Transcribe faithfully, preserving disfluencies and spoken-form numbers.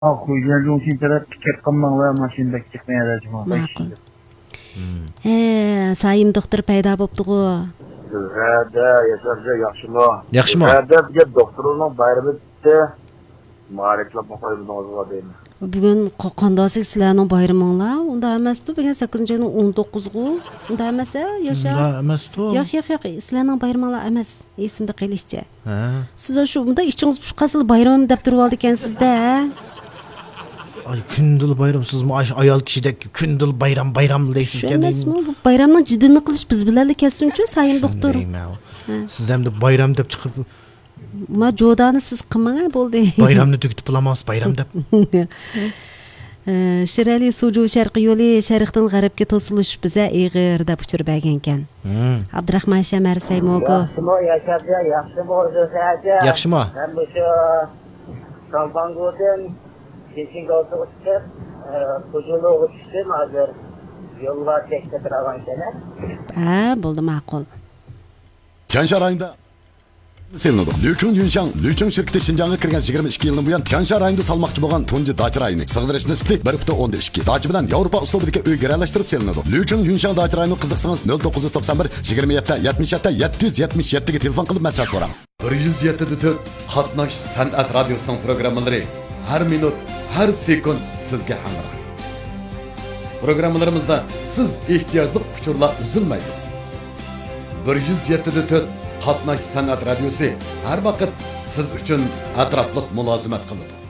خوجيەنجۇڭشىن تەرەپكە كەپ قالماڭلار، ماشىنا بەك چىقمايدۇ جۇمۇ. ماقۇل. ھە، سايىم دوختۇر پەيدا بوپتىغۇ. ھەدە، ياشار ئاكا، ياخشىمۇ؟ ياخشىمۇ؟ ھەدە، بۈگۈن دوختۇرنىڭ بايرىمى ئۆتتى. مۇبارەكلەپ قويمىدىڭىزغۇ دەيمەن. بۈگۈن قا-، قانداق سىلەرنىڭ بايرىمىڭلار؟ ئۇنداق ئەمەستۇ، بۈگۈن سەككىزىنچى ئاينىڭ ئون توققۇزىغۇ. ئۇنداق ئەمەس ھە، ياشار؟ ئۇنداق ئەمەستۇ. ياق، ياق، ياق، سىلەرنىڭ بايرىمىڭلار ئەمەس، ئېسىمدە قېلىشىچە. ھە. سىز شۇ مۇنداق ئىچىڭىز پۇشۇپ قالسىلا بايرىمىم دەپ تۇرۇۋالىدىكەنسىز-دە، ھە؟ ئاي، كۈندىلا بايرام، سىزمۇ ئاي-، ئايال كىشىدەك كۈندىلا بايرام، بايرام دەيسىزكەن. شۇ ئەمەسمۇ؟ بۇ بايرامنىڭ جىددىيىنى قىلىش بىز بىلەنلا كەتسۇنچۇ، سايىم دوختۇر. شۇندايمۇ؟ ھە. سىز ئەمدى بايرام دەپ چىقىپ، ما جودانى سىز قىلماڭ، ھە، بولدى. بايرامنى تۈگىتىپ بولامسىز، بايرام دەپ. ئە، شىرئەلى سۇجۇ شەرقىي يولى شەرقتىن غەربكە توسۇلۇش بىزە ئېغىر دەپ ئۇچۇر بەرگەنكەن. ھىم. ئابدۇراخمان شەمەر سەيموگو. ياخشىمۇ ياشار ئاكا، ياخشىمۇ ئۆزۈڭىز ئاكا؟ ياخشىمۇ؟ مەن مۇشۇ سالباڭگودىن شىنشىنگاۋتىغا چىقىپ، ئە، فۇجۇلۇغا چۈشتۈم، ھازىر يوللار چەكلىك تۇرغانكەن. ھە، بولدى، ماقۇل. چيەنشان رايونىدا سېلىنىدۇ. لۈچۈڭ يۈنشاڭ، لۈچۈڭ شىركىتى شىنجاڭغا كىرگەن يىگىرمە ئىككى يىلدىن بۇيان، تيەنشان رايونىدا سالماقچى بولغان تۇنجى داچا رايونى. سىغدۇرۇش نىسبىتى بىر پۈتۈن ئوندىن ئىككى. داچا بىلەن ياۋروپا ئۇسلۇبىدىكى ئۆي گىرەلەشتۈرۈپ سېلىنىدۇ. لۈچۈڭ يۈنشاڭ داچا رايونىغا قىزىقسىڭىز، نۆل توققۇز يۈز توقسان بىر، يىگىرمە يەتتە، يەتمىش يەتتە، يەتتە يۈز يەتمىش يەتتىگە تېلېفون قىلىپ مەسلىھەت سوراڭ. بىر يۈز يەتتە دە تۆت قاتناش سەنئەت رادىيوسىنىڭ پروگراممىلىرى ھەر مىنۇت، ھەر سېكۇنت سىزگە ھەمراھ. پروگراممىلىرىمىزدا سىز ئېھتىياجلىق ئۇچۇرلار ئۈزۈلمەيدۇ. بىر يۈز يەتتە دە تۆت قاتناش سەنئەت رادىيوسى ھەر ۋاقىت سىز ئۈچۈن ئەتراپلىق مۇلازىمەت قىلىدۇ.